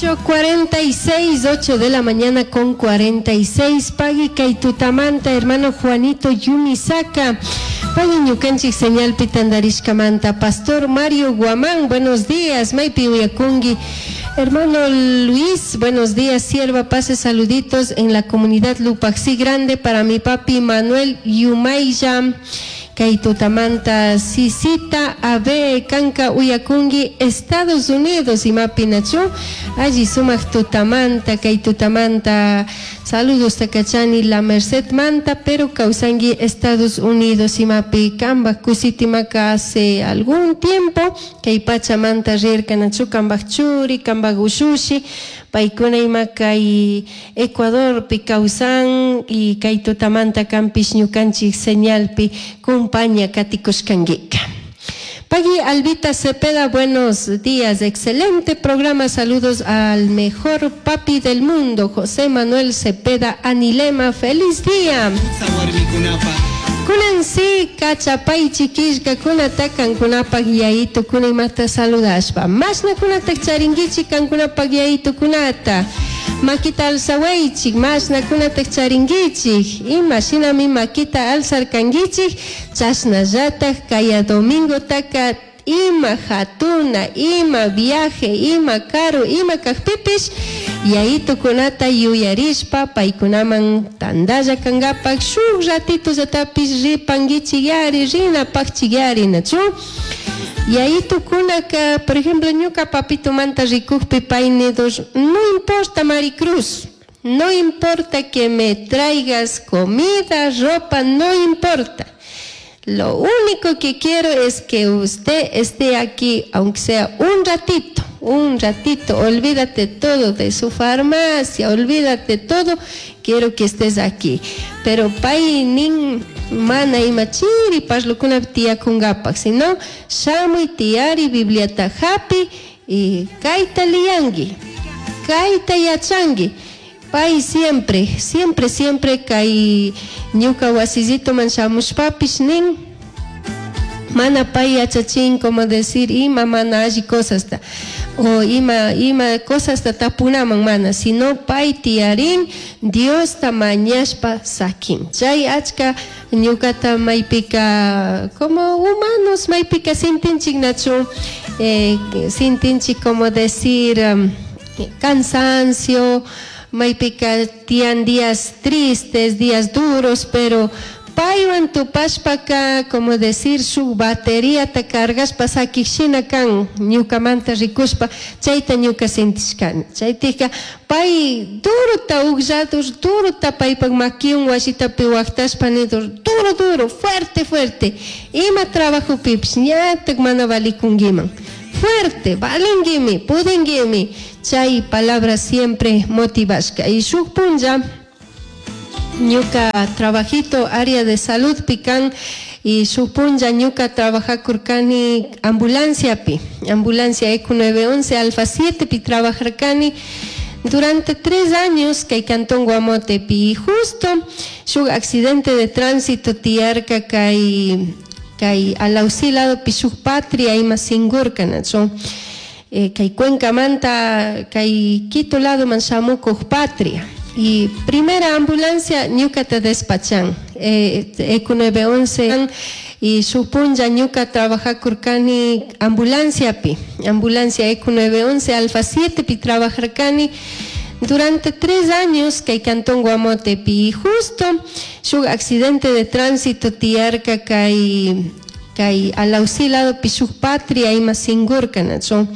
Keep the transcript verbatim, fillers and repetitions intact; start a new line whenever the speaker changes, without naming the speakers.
Ocho cuarenta y seis, ocho de la mañana con cuarenta y seis. Pagui kay tutamanta, hermano Juanito Yumisaka. Pagui ñukanchik señalpi tandarishkamanta. Pastor Mario Guamán, buenos días. Maypi uyakungi. Hermano Luis, buenos días. Sierva, pase saluditos en la comunidad Lupaxi Grande para mi papi Manuel Yumayya. Kay tutamanta Sisita Abe Kanka uyakungi Estados Unidos imapi nachu alli sumak tutamanta kay tutamanta saludos takachani La Merced manta, pero kawsangi Estados Unidos imapi kambak kusitimaka hace algún tiempo kay pachamanta rirka nachu kambak churi, kambak ushushi, paykuna ima kay Ecuadorpi kawsan y kay tutamanta kampish ñukanchik señalpi kumpaña katikushkankika. Pagui Albita Cepeda, buenos días, excelente programa, saludos al mejor papi del mundo, José Manuel Cepeda Anilema, feliz día. Kunan si kachapaychi killkakunata kankunapak yayitukuna imata saludashpa. Mashnakunatak charinkichik kankunapak yayitukunata? Makita alzawaychik, mashnakunatak charinkichik? Ima shinami makita alzarkankichik, chashnallatak kaya domingotaka ima hatuna, ima viaje, ima karu, ima kakpipish, yayitukunata yuyarishpa paykunaman tandalla kankapak shuk ratitollatapish ripankichikyari, rinapakchikyari nachu. Yayitukunaka, por ejemplo, ñuka papitumanta rikukpi pay nidos: "No importa, Maricruz, no importa que me traigas comida, ropa, no importa. Lo único que quiero es que usted esté aquí, aunque sea un ratito, un ratito. Olvídate todo de su farmacia, olvídate todo. Quiero que estés aquí". Pero pay nin mana ima chiri parlukunapi tiyakunkapak, sino shamuy tiyari, Bibliata hapi y kayta liyanki, kayta yachanki. Pay siempre, siempre, siempre kay ñuka wasillituman shamushpapish nin, mana pay yachachin como decir ima mana alli cosasta o ima ima cosasta tapunaman mana, sino pay tiyarin, Diosta mañashpa sakin. Chay achka ñukata maypika como humanos maypika sintinchik nachu, eh, sintinchik como decir um, cansancio, maypika tiyan días tristes, días duros, pero paywan tupashpaka como decir shuk bateriata cargashpa sakik shina kan ñukamanta rikushpa, chayta ñuka sintishkani. Chaytika pay durota uglladur, durota paypak makiwan wasitapi waktashpa nidur: "Duro, duro, fuerte, fuerte, ima trabajopipish ñatak mana valikunkiman, fuerte, valinkimi, pudinkimi". Chay palabra siempre motivashka. Y shuk punlla ñuka trabajito área de salud pican y shuk punlla ñuka trabajakurkani ambulanciapi, ambulancia E C nueve once Alfa siete pi trabajarkani durante tres años kay cantón Guamotepi y justo shuk accidente de tránsito tiyarka kay kay Alausí lado pi, shuk Patria ima singurka nachu eh, kay Cuencamanta kay Quito lado man shamukuq Patria y primera ambulancia ñukata despachan eh, E C nueve once y shuk punlla ñuka trabajakurkani ambulanciapi, ambulancia E C nueve once Alfa siete pi trabajarkani durante tres años kay cantón Guamotepi y justo shuk accidente de tránsito tiyarka kay kay Alausí lado pi, shuk Patria ima singurka nachu.